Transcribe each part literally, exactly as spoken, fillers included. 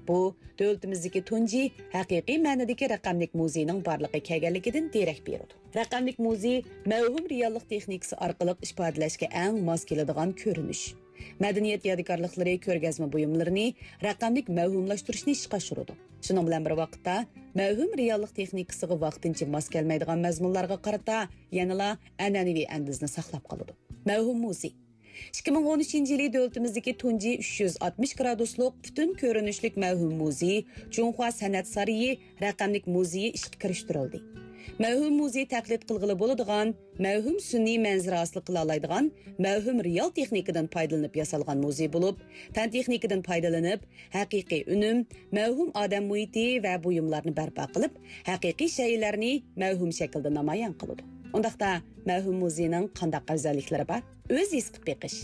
بۇ، دۆلىتىمىزدىكى تۇنجى ھەقىقىي مەنىدىكى رەقەملىك مۇزېينىڭ بارلىققا كەلگەنلىكىدىن دېرەك بېرىدۇ. رەقەملىك مۇزېي مەۋھۇم رېئاللىق تېخنىكىسى ئارقىلىق ئىپادىلەشكە ئەڭ ماس كېلىدىغان كۆرۈنۈش. مەدەنىيەت يادىكارلىقلىرى كۆرگەزمە بۇيۇملىرىنى رەقەملىك مەۋھۇملاشتۇرۇشنى ئىشقا ئاشۇرىدۇ. شۇنىڭ بىلەن بىر ۋاقىتتا، مەۋھۇم رېئاللىق تېخنىكىسىغا ۋاقتىنچە ماس كەلمەيدىغان مەزمۇنلارغا قارىتا يەنىلا ئەنئەنىۋى ئەندىزىنى ساقلاپ قالىدۇ. مەۋھۇم مۇزېي. ئىككى مىڭ ئون ئۈچىنچى يىلى دۆلىتىمىزدىكى تۇنجى ئۈچ يۈز ئاتمىش گرادۇسلۇق پۈتۈن كۆرۈنۈشلۈك مەۋھۇم مۇزېي، جۇڭخۇا سەنئەت سارىيى رەقەملىك مۇزېيى ئىشقا كىرىشتۈرۈلدى. مەۋھۇم مۇزېي تەقلىد قىلغىلى بولىدىغان، مەۋھۇم سۈنئىي مەنزىرە ھاسىل قىلالايدىغان، مەۋھۇم رېئال تېخنىكىدىن پايدىلىنىپ ياسالغان مۇزېي بولۇپ، پەن تېخنىكىدىن پايدىلىنىپ، ھەقىقىي ئۈنۈم، مەۋھۇم ئادەم مۇھىتى ۋە بۇيۇملارنى بەرپا قىلىپ، ھەقىقىي شەيئىلەرنى مەۋھۇم شەكىلدە نامايان قىلىدۇ. ئۇنداقتا، مەۋھۇم مۇزېينىڭ قانداق ئەۋزەللىكلىرى بار؟ ئۆز ھېس قىلىپ بېقىش.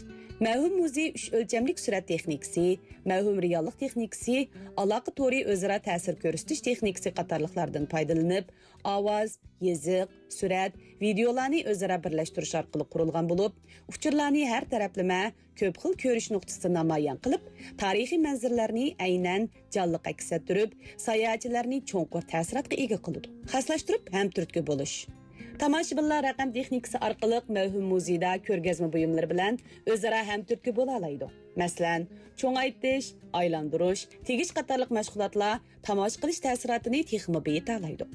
مەۋھۇم مۇزېي ئۈچ ئۆلچەملىك سۈرەت تېخنىكىسى، مەۋھۇم رېئاللىق تېخنىكىسى، ئالاقە تورى ئۆزئارا تەسىر كۆرسىتىش تېخنىكىسى قاتارلىقلاردىن پايدىلىنىپ، ئاۋاز، يېزىق، سۈرەت، ۋىدېئولارنى ئۆزئارا بىرلەشتۈرۈش ئارقىلىق قۇرۇلغان بولۇپ، ئۇچۇرلارنى ھەر تەرەپلىمە، كۆپ خىل كۆرۈش نۇقتىسىدا نامايان قىلىپ، تارىخىي مەنزىرىلەرنى ئەينەن جانلىق ئەكس ئەتتۈرۈپ، ساياھەتچىلەرنى چوڭقۇر تەسىراتقا ئىگە قىلىدۇ. خاسلاشتۇرۇپ ھەم تۈرتكە بولۇش. تاماشىبىنلار رەقەم تېخنىكىسى ئارقىلىق مەۋھۇم مۇزېيدا كۆرگەزمە بۇيۇملىرى بىلەن ئۆزئارا ھەم تۈرتكە بولالايدۇ. مەسىلەن، چوڭايتىش، ئايلاندۇرۇش، تېگىش قاتارلىق مەشغۇلاتلار تاماشا قىلىش تەسىراتىنى تېخىمۇ بېيىتالايدۇ.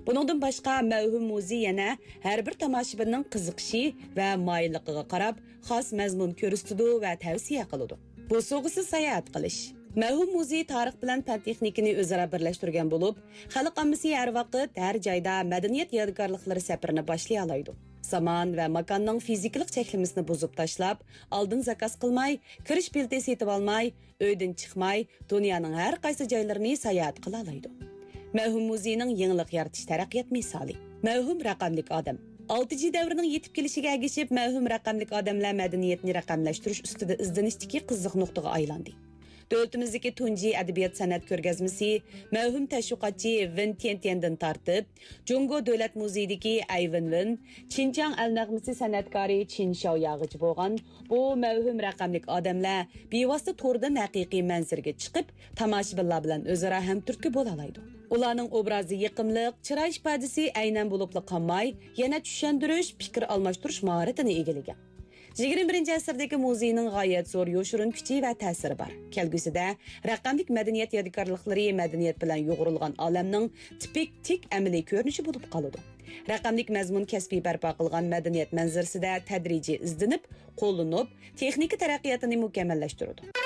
بۇنىڭدىن باشقا، مەۋھۇم مۇزېي يەنە ھەر بىر تاماشىبىننىڭ قىزىقىشى ۋە مايىللىقىغا قاراپ، خاس مەزمۇن كۆرسىتىدۇ ۋە تەۋسىيە قىلىدۇ. بوسۇغىسىز ساياھەت قىلىش. مەۋھۇم مۇزېي تارىخ بىلەن پەن تېخنىكىنى ئۆزئارا بىرلەشتۈرگەن بولۇپ، خەلق ئاممىسى ھەر ۋاقىت، ھەر جايدا مەدەنىيەت يادىكارلىقلىرى سەپىرىنى باشلىيالايدۇ. زامان ۋە ماكاننىڭ فىزىكىلىق چەكلىمىسىنى بۇزۇپ تاشلاپ، ئالدىن زاكاز قىلماي، كىرىش بېلىتى سېتىۋالماي، ئۆيدىن چىقماي، دۇنيانىڭ ھەر قايسى جايلىرىنى ساياھەت قىلالايدۇ. مەۋھۇم مۇزېينىڭ يېڭىلىق يارىتىش تەرەققىيات مىسالى. مەۋھۇم رەقەملىك ئادەم. ئالتە جى دەۋرىنىڭ يېتىپ كېلىشىگە ئەگىشىپ، مەۋھۇم رەقەملىك ئادەملەر مەدەنىيەتنى رەقەملەشتۈرۈش ئۈستىدە ئىزدىنىشتىكى قىزىق نۇقتىغا ئايلاندى. دۆلىتىمىزدىكى تۇنجى ئەدەبىيات سەنئەت كۆرگەزمىسى مەۋھۇم تەشۋىقاتچى ۋېن تيەنتيەندىن تارتىپ، جۇڭگو دۆلەت مۇزېيىدىكى ئەي ۋېنۋېن، چىنجياڭ ئەل نەغمىسى سەنئەتكارى چىن شياۋياغىچە بولغان بۇ مەۋھۇم رەقەملىك ئادەملەر بىۋاسىتە توردىن ھەقىقىي مەنزىرىگە چىقىپ، تاماشىبىنلار بىلەن ئۆزئارا ھەمتۈرتكە بولالايدۇ. ئۇلارنىڭ ئوبرازى يېقىملىق، چىراي ئىپادىسى ئەينەن بولۇپلا قالماي، يەنە چۈشەندۈرۈش، پىكىر ئالماشتۇرۇش ماھارىتىنى ئىگىلىگەن. يىگىرمە بىرىنچى ئەسىردىكى مۇزېينىڭ غايەت زور يوشۇرۇن كۈچى ۋە تەسىرى بار. كەلگۈسىدە رەقەملىك مەدەنىيەت يادىكارلىقلىرى مەدەنىيەت بىلەن يۇغۇرۇلغان ئالەمنىڭ تىپىك، تىك ئەمەلىي كۆرۈنۈشى بولۇپ قالىدۇ. رەقەملىك مەزمۇن كەسپىي بەرپا قىلغان مەدەنىيەت مەنزىرىسىدە تەدرىجىي ئىزدىنىپ، قوللىنىپ، تېخنىكا تەرەققىياتىنى مۇكەممەللەشتۈرىدۇ.